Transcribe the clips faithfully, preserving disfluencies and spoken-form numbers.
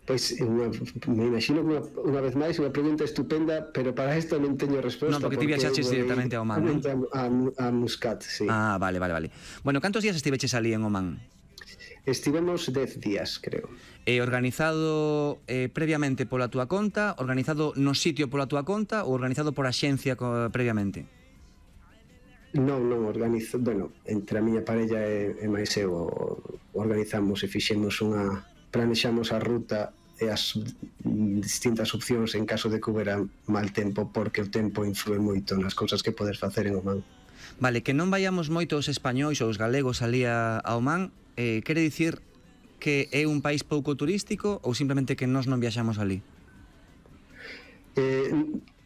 Pois, unha, me imagino que unha, unha vez máis unha pregunta estupenda, pero para isto non teño resposta. Non, porque ti viaxaches directamente a Oman, non? A, a, a Muscat, sí. Ah, vale, vale, vale. Bueno, cantos días estiveches ali en Oman? Estivemos dez días, creo. Eh, organizado eh, previamente pola túa conta, organizado no sitio pola túa conta ou organizado por axencia co, previamente? Non, non, organizo, bueno, entre a miña parella e, e máis eu organizamos e fixemos unha, planexamos a ruta e as distintas opcións en caso de que houbera mal tempo, porque o tempo influe moito nas cousas que podes facer en Oman. Vale, que non vayamos moito os españois ou os galegos ali a, a Oman, eh, quere dicir que é un país pouco turístico ou simplemente que nós non viaxamos ali? Eh,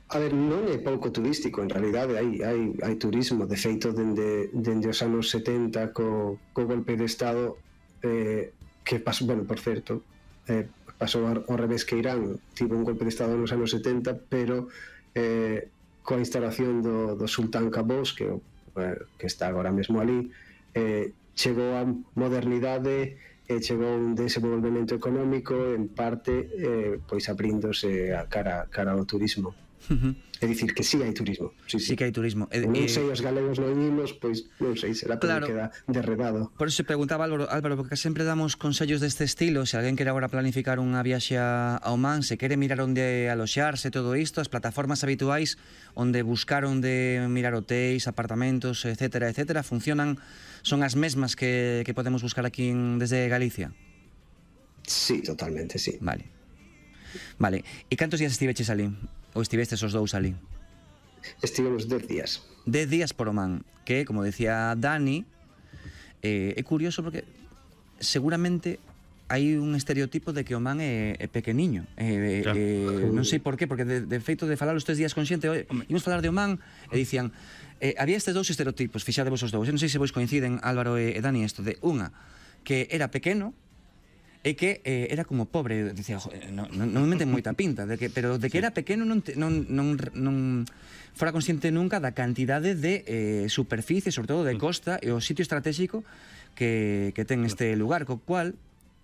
a ver, non é pouco turístico, en realidade hai, hai, hai turismo, de feito dende, dende os anos setenta co, co golpe de Estado eh, que pasou, bueno, por certo eh, pasou ao revés que Irán, tivo un golpe de Estado nos anos setenta, pero eh, coa instalación do, do Sultán Qaboos, que, eh, que está agora mesmo ali, eh, chegou a modernidade e chegou un desenvolvemento económico, en parte eh, pois abríndose a cara, cara ao turismo. Uh-huh. É dicir, que sí hai turismo. Sí, sí, sí que hai turismo. Eh, non sei, os galegos non imos, pois non sei, será porque claro, queda derredado. Por eso se preguntaba Álvaro, Álvaro, porque sempre damos consellos deste estilo. Se alguén quere agora planificar unha viaxe a Oman, se quere mirar onde aloxarse, todo isto, as plataformas habituais onde buscar onde mirar hotéis, apartamentos, etcétera, etcétera, funcionan, son as mesmas que, que podemos buscar aquí en, desde Galicia? Sí, totalmente, sí. Vale. Vale, e cantos días estiveches ali? Ou estivestes os dous ali? Estivemos dez días. Dez días por Oman, que, como decía Dani, eh, é curioso porque seguramente hai un estereotipo de que Oman é, é pequeniño. Eh, claro. eh, non sei por qué, porque de, de feito de falar os tres días con xente, imos falar de Oman, e dicían, eh, había estes dous estereotipos, fixadevos os dous, e non sei se vos coinciden, Álvaro e, e Dani, isto de unha, que era pequeno, e que eh, era como pobre, dicía, non, non me meten moita pinta, de que, pero de que sí. Era pequeno non, te, non, non, non fora consciente nunca da cantidade de eh, superficie, sobre todo de costa, e o sitio estratégico que, que ten este lugar, co cual,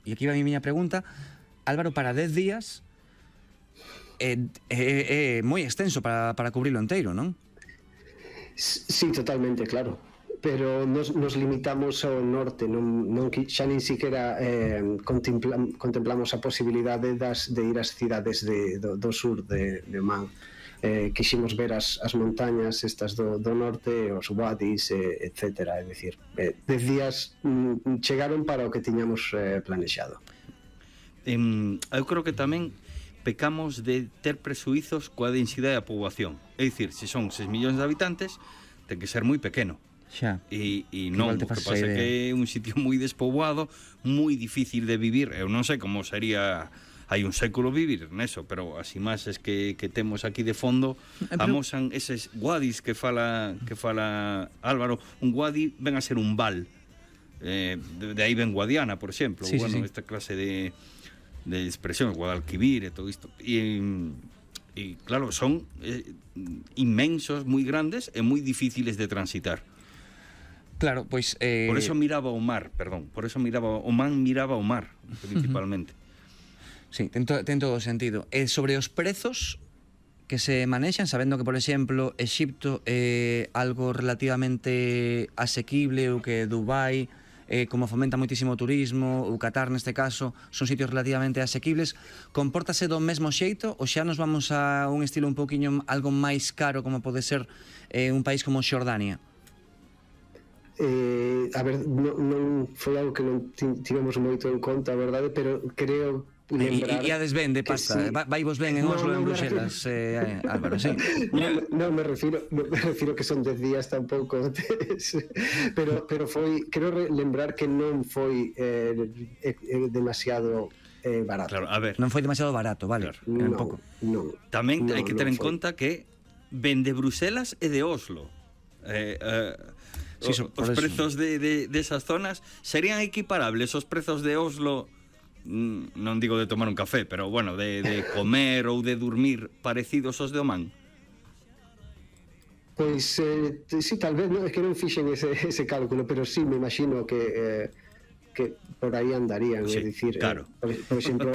e aquí va a miña pregunta, Álvaro, para dez días é, é, é moi extenso para, para cubrirlo inteiro, non? Sí, totalmente, claro. Pero nos, nos limitamos ao norte, non, non, xa nin siquiera eh, contemplam, contemplamos a posibilidade das, de ir ás cidades de, do, do sur de, de Oman. Eh, quiximos ver as, as montañas estas do, do norte, os wadis, eh, etcétera. É dicir, eh, dez días mm, chegaron para o que tiñamos eh, planexado. Um, eu creo que tamén pecamos de ter presuizos coa densidade da poboación. É dicir, se son seis millóns de habitantes, ten que ser moi pequeno. Xa. E, e non, o que pasa é que é un sitio moi despoboado, moi difícil de vivir. Eu non sei como sería hai un século vivir neso, pero as imaxes que, que temos aquí de fondo pero... amosan eses wadis que fala que fala Álvaro. Un wadi ven a ser un val, eh, de, de aí ven Guadiana, por exemplo, sí, bueno, sí, sí. Esta clase de, de expresión, Guadalquivir e todo isto. E, e claro, son eh, inmensos, moi grandes e moi difíciles de transitar. Claro, pois... Eh... Por eso miraba o mar, perdón, por eso miraba o man miraba o mar, principalmente. Sí, ten, to, ten todo o sentido. E sobre os prezos que se manexan, sabendo que, por exemplo, Exipto é algo relativamente asequible, ou que Dubai, eh, como fomenta moitísimo o turismo, ou Qatar neste caso, son sitios relativamente asequibles, compórtase do mesmo xeito, ou xa nos vamos a un estilo un poquinho algo máis caro, como pode ser eh, un país como Xordania? Eh, a ver, non, non foi algo que non tivemos moito en conta, a verdade, pero creo lembrar... E iades ben de pasta, sí. Vai vos ben en Oslo, no, no, en Bruxelas, eh, Álvaro, sí. Non no, me refiro me refiro que son dez días tampouco, pero, pero foi, creo lembrar que non foi eh, eh, demasiado eh, barato. Claro, a ver. Non foi demasiado barato, vale, claro. Non, un pouco. Non. Tamén no, hai que ter en foi. conta que ven de Bruxelas e de Oslo. Eh, eh, sí, so, os prezos de, de, de esas zonas serían equiparables os prezos de Oslo, non digo de tomar un café, pero bueno, de, de comer ou de dormir parecidos aos de Oman? Pois, eh, sí, tal vez, no, é que non fixen ese, ese cálculo, pero sí, me imagino que, eh, que por aí andarían, sí, é dicir, claro. eh, por, por exemplo,